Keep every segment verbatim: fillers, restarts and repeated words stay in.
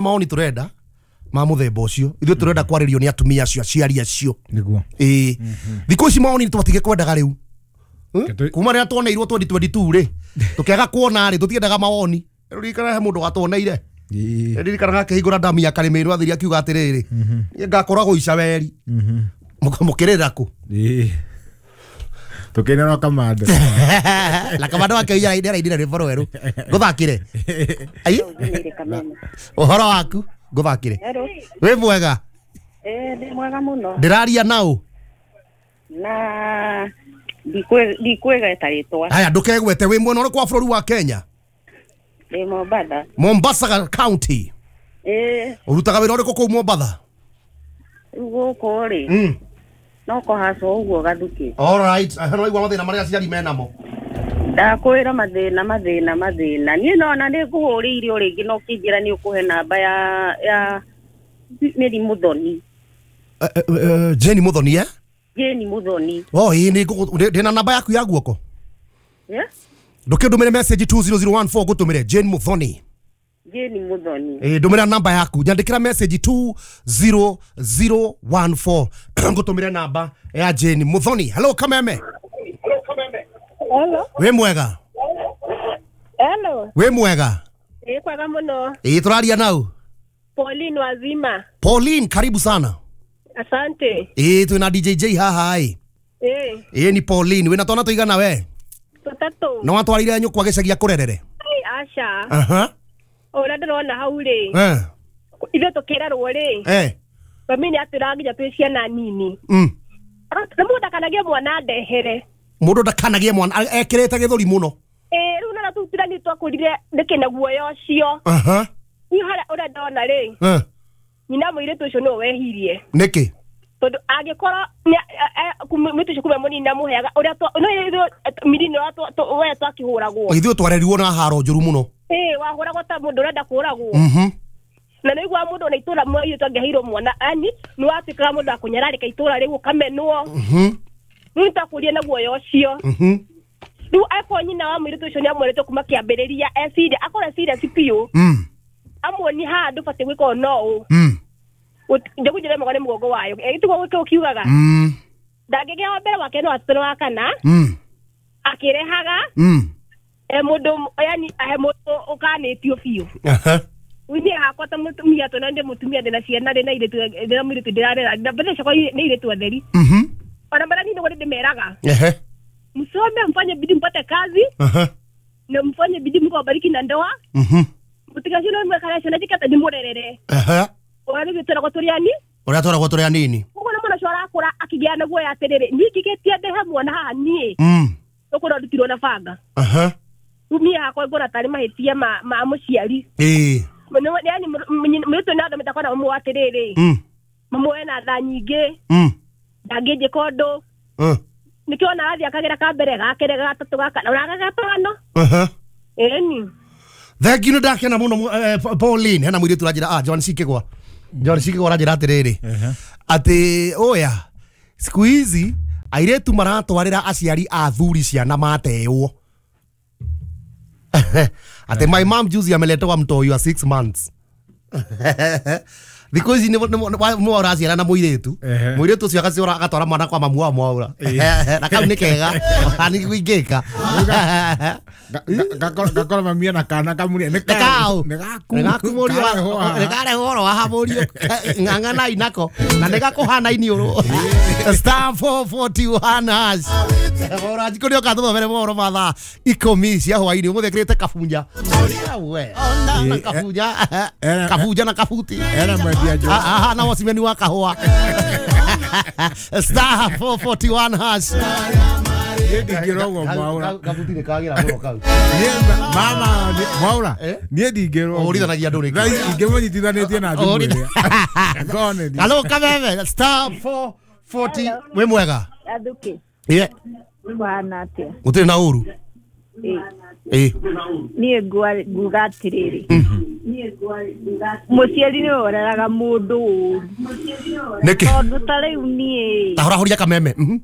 Maoni turenda ma muthemba ucio ithuĩ turenda kwarĩrio nĩ atumia acio aciari acio niguo. Ĩĩ, thikũ ici maoni nĩ kwendaga rĩu. Kuma rĩrĩa tuoneirwo twenty twenty-two rĩ, tũkĩaga kuona rĩ, tũtiendaga mawoni. Ririkana he mũndũ watuoneire, ririkana akĩhingũra ndamu ya Karĩmĩrũ athiri akiuga atĩrĩrĩ, niĩ ngakoragwo Icaweri mũkĩrĩra kũ? Tukinera kamande na kamande wake nĩarainire rwĩmbo rwerũ ngũthakĩre. Ai, ũhoro waku ngũthakĩre. Wĩ mwega? Ĩ, mwega mũno. Ndĩraria naũ? Na ndikwĩgweta rĩtwa. Haya, ndũkegwete. Wĩ mwena ũrĩkũ wa bũrũri wa Kenya? Ndĩ Mombatha. Mombasa County. Ĩ. Ũrutaga wĩra ũrĩkũ kũu Mombatha? Rĩu gũkũ rĩ, no kũhacwo ũguo gathukĩ. All right, no igua mathĩna marĩa aciari menamo. Ndakwĩra mathĩna mathĩna mathĩna. Niĩ nona nĩ ngũhũrĩire o rĩngĩ no ũkĩnjĩra nĩ ũkũhe namba ya ya Mary Muthoni. Jane Muthoni, eh? Jane Muthoni. Oh, ĩ nĩ ndĩna namba yaku ya guoko. Yeah? Ndũkĩndũmĩre message two zero zero one four ngũtũmĩre Jane Muthoni. Jane Muthoni. Eh, ndũmĩra namba yaku. Nyandĩkĩra message two zero zero one four ngũtũmĩre namba ya Jane Muthoni. Hello Kameme. Hello Kameme. Hello. Wĩ mwega? Hello. Wĩ mwega? Ĩ, kwega mũno. Ĩ, tũraria nau? Pauline Wazima. Pauline, karibu sana. Asante. Ĩ, twĩna D J J haha ĩ. Ĩ. Ĩ, ni Pauline, wĩna twana tũigana we? Tũtatũ. No watwarire nyũkwa gĩcagi akũrerere? Aca. Aha. Ũrĩa ndĩrona hau rĩ. Eh. Ithuĩ tũkĩrerwo rĩ. Eh. Mami nĩ atwĩraga nginya twĩ ciana nini. Mm. Nĩ mũndũ ndakanagie mwana ndehere. Mũndũ ndakanagie mwana ekĩrĩte gĩthũri mũno. Ĩ, rĩu nona tũtira nĩ twakũrire ndĩkĩ na guoya ũcio. Aha. Niĩ harĩa ũrĩa ndona rĩ. Eh. Nyina mũirĩtu ũcio nĩwe wehirie. Nĩkĩ? Tondũ angĩkorwo mũirĩtu ũcio kuma mũnini amũheaga ũrĩa no ithuĩ mĩrino we twakĩhũragwo. Ithuĩ twarerirwo na haro njũru mũno. Ĩ, wahũragwo ta mũndũ ũrenda kũũragwo. Mhm. Na nĩ ũiguaga mũndũ ona itũra mũirĩtu angĩheirwo mwana yani nĩ watuĩkaga mũndũ wa kũnyararĩka itũra rĩu ũkamenwo. Mhm. Rĩu nĩtwakũrire na guoya ũcio. Mhm. Rĩu akorwo nyina wa mũirĩtu ũcio nĩamwĩrĩte kuma kĩambĩrĩria eciria akorwo eciria ci biũ. Mm. Amuoni haha ndũbatiĩ gwĩka ũũ no ũũ. Mm. Njogu njĩra nĩ mũgongo wayo. Ĩ, tiguo gũkũ ũkiugaga. Mm. Ndangĩgĩa wa mbere wake no gatatũ na wa kana. Mm. Akĩrehaga. Mm. E mũndũ yani he mũndũ ũkanĩtio biũ. Aha. Niĩ hakwa ta mũtumia tondũ ndĩ mũtumia ndĩna ciana ndĩna airĩtu ndĩna mũirĩtu ndĩrarera na mbeca ciakwa nĩ airĩtu atheri. Mhm. Ona mara nini nĩguo ndĩmeraga. Ehe. Msome mfanye bidii mpate kazi. Aha. Na mfanye bidii Mungu awabariki na ndoa. Mhm. Mũtigacione mwekara ciana njikate ndĩmũrerere. Aha. Ũrĩa nĩguo tũragwo tũrĩ ani? Ũrĩa tũragwo tũrĩ anini. Ũguo nĩ mwana ũcio arakũra akĩgĩa na guoya atĩrĩrĩ, niĩ ingĩgĩtia ndehe mwana haha niĩ. Mm. Ũkorwo ndutirwo na banga. Aha. Rĩu niĩ hakwa ngona tarĩ mahĩtia ma ma mũciari. Ĩĩ. Yaani mũirĩtu nĩ athomete akona mamu atĩrĩrĩ. Mm. Mamu ena tha nyingĩ. Mm. Ndangĩnjĩka ũndũ. Mm. Nĩkĩo ona arathiĩ akagera ka mbere ga kerĩ ga gatatũ ga kana ona ga gatano. Aha. Ĩni. Thank you, ndakena mũno Pauline. Hena mũirĩtu ũranjĩra, ah, John Cikĩgwa. John Cikĩgwa aranjĩra atĩrĩrĩ. Atĩ oya, siku hizi airĩtu maratwarĩra aciari a thuri ciana matewo. Atĩ my mom juzi ameletewa mtoi wa six months. Thikũ ici nĩ ũraciara na mũirĩtu. Mũirĩtu ũcio agaciora agatwara mwana kwa mamu wa mwaura. Na kau nĩ kega. Nĩ ingĩka. Gakora mami na kana kamũria nĩ kaũ. Nĩ gaku. Nĩ gaku mũriũ. Nĩ karehwo oro haha mũriũ. Ng'ang'anai nako. Na nĩ gakũhana iniũrũ. Star four forty-one hash. Ora njikũ nĩ ũka tũthomere mohoro ma thaa ikũmi cia hwaĩ-inĩ. Ũmũthĩ ekĩrĩte kabunja. We. Na kabunja. Kabunja na kabuti. Era mwendia njũgũ. Aha, na wacimeni wa kahũa. Star four forty-one hash. Niĩ ndingĩrwo ũguo Mwaura. Kabuti nĩ kagĩra mũno kau. Niĩ mama Mwaura, niĩ ndingĩrwo. Ũhũrithanagia andũ rĩngĩ. Ingĩmũnyitithanĩtie na thimũ ĩrĩa. Ngone ni. Hello Kameme, star four forty. Wĩ mwega? Athuki. Ĩĩ. Bwana atĩa? Gũtirĩ na ũru. Ĩĩ. Ĩĩ. Niĩ nguga atĩrĩrĩ. Mũciari nĩwe ũreraga mũndũ ũru. Nĩkĩ? Tondũ ta rĩu niĩ. Ta horahoria Kameme. Mhm.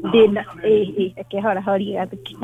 Ndĩna ĩĩ ĩĩ reke horahorie Gathuki.